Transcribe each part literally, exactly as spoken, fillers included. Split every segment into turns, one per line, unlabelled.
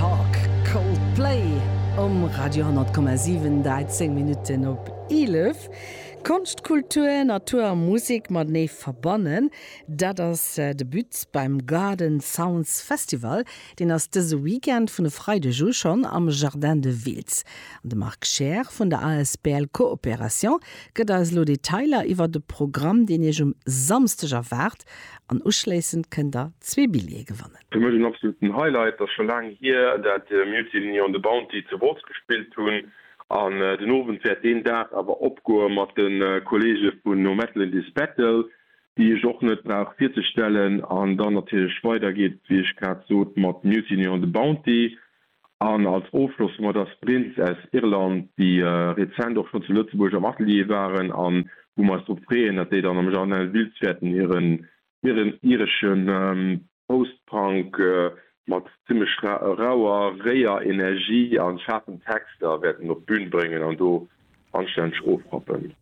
Talk, Coldplay um Radio honnert Komma siwen, dräizéng Minutten op eelef. Konscht, Kultur, Natur a Musek matenee verbannen, dat ass äh, de But beim Garden Sounds Festival. Deen ass dëse Weekend vun e Freideg u schonn am Jardin de Wiltz. An de Marc Scheer vun der A S B L Coopération gëtt eis lo Detailer iwwer de Programm, deen iech um Samschdeg erwaart, an uschléissend kënnt der zwee Billjeeë gewannen.
Fir mech en absoluten Highlight, dat scho laang hier, dat äh, Mutiny on the Bounty zu Wolz gespillt hunn. An äh, den Owend wäert deen Dag awer opgoe mat den äh, Kolleege vun No Metal in This Battle, déi ech och net brauch virzestellen, an dann natierlech weidergeet, wéi ech grad sot, mat Mutiny on the Bounty. An als Ofschloss hu mer da Sprints aus Irland, déi äh, rezent och schonn zu Lëtzebuerg am Atelier waren an wou mer eis drop freeën, dat déi dann am Jardin Wiltz wäerten hiren hiren ireschen ähm, Post-Punk äh, mat zimmlech rauer réier Energie an schaarfen Texter wäerten op d'Bün bréngen an do anstänneg ofrappen.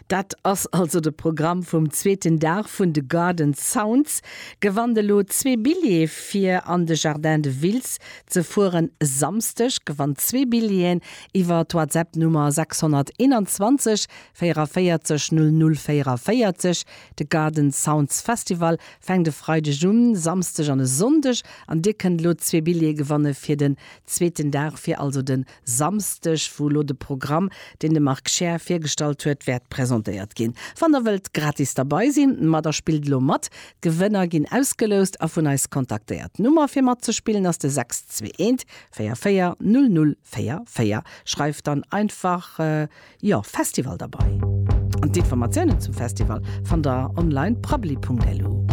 Dat ass also de Programm vum zweeten Dag vun de Garden Sounds. Gewannt elo zwee Billjeeë fir an de Jardin de Wiltz ze fueren Samschdeg. Gewannt zwee Billjeeën iwwer d'WhatsApp-Nummer sechshonnerteenanzwanzeg véierenvéierzeg null null véierenvéierzeg. De Garden Sounds Festival fänkt de Freideg un, Samschdeg an e Sonndeg an dir kënnt lo zwee Billjeeë gewanne fir den zweeten Dag, fir also den Samschdeg, wou lo de Programm, deen de Marc Scheer virgestallt huet, wäert presentéiert ginn. Wann der wëllt gratis derbäi sinn, ma da spillt lo mat. D'Gewënner ginn ausgeloust a vun eis kontaktéiert. D'Nummer fir matzespillen ass de sechs zwee eent véier véier null null véier véier. Schreift dann einfach äh, jo, Festival derbäi. An d'Informatiounen zum Festival fannt der online prabbeli Punkt lu.